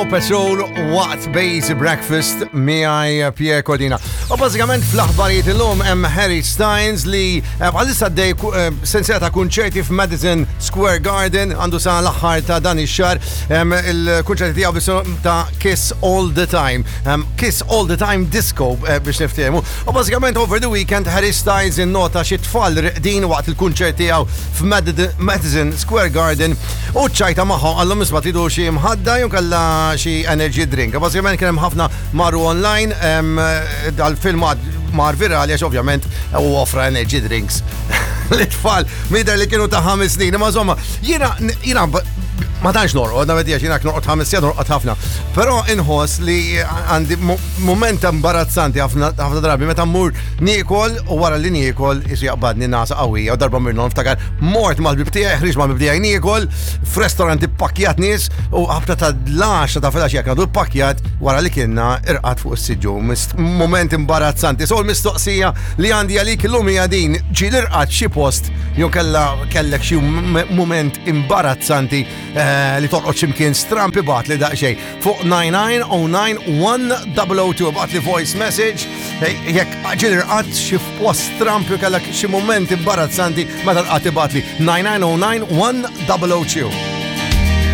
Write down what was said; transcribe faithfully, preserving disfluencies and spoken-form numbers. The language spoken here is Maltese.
Patrol waqt Base Breakfast miegħi Pierre Cordina. U bażikament fl-aħbarijiet illum hemm Harry Styles li eh, bħalissa għaddej eh, sensiela ta' kunċerti f'Madison Square Garden, għandu sa l-aħħar ta' dan ix-xahar il-kunċerti tiegħu b'isem ta' Kiss All the Time. Kiss All the Time Disco eh, biex niftehmu. U bażikament over the weekend Harry Styles innota xi tfal reqdin waqt il-kunċert tiegħu f'Madison Square Garden u ċajta magħhom, qallhom, "Isma', tridu xi mħadda jew kellha xi energy drink?" Bażikament kien hemm ħafna marru online, dal-filmat mar virali għax ovvjament u offra energy drinks l-tfal mider li kienu ta' ħames snin. Ma insomma, jiena jiena ma tantx norqod, navedi għax jiena norqod ħames sigħat, norqod ħafna. Però inħoss li għandi moment imbarazzanti ħafna drabi meta mmur niekol u wara li niekol isu jaqbadni nagħsa qawwija. U darba mirnon niftakar mort mal-ħbieb tiegħi, ħriġt mal-ħbieb tiegħi niekol f'restaurant ippakkjat nies u ħabta ta' l-għaxra ta' filgħaxija għadu pakkjat, wara li kienna irqadt fuq is-siġġu. Moment imbarazzanti. So l-mistoqsija li għandi għalik illum hija din: ġieli rqadt xi post jew kella kellek xi moment imbarazzanti eh, li torqod x'imkien stramp? Ibgħatli daqsxejn fuq nine nine zero nine one zero zero two, ibgħatli voice message jekk ġieli rqadt xi post stramp jew kellek xi moment imbarazzanti meta rqadt. Ibgħatli nine nine zero nine one zero zero two.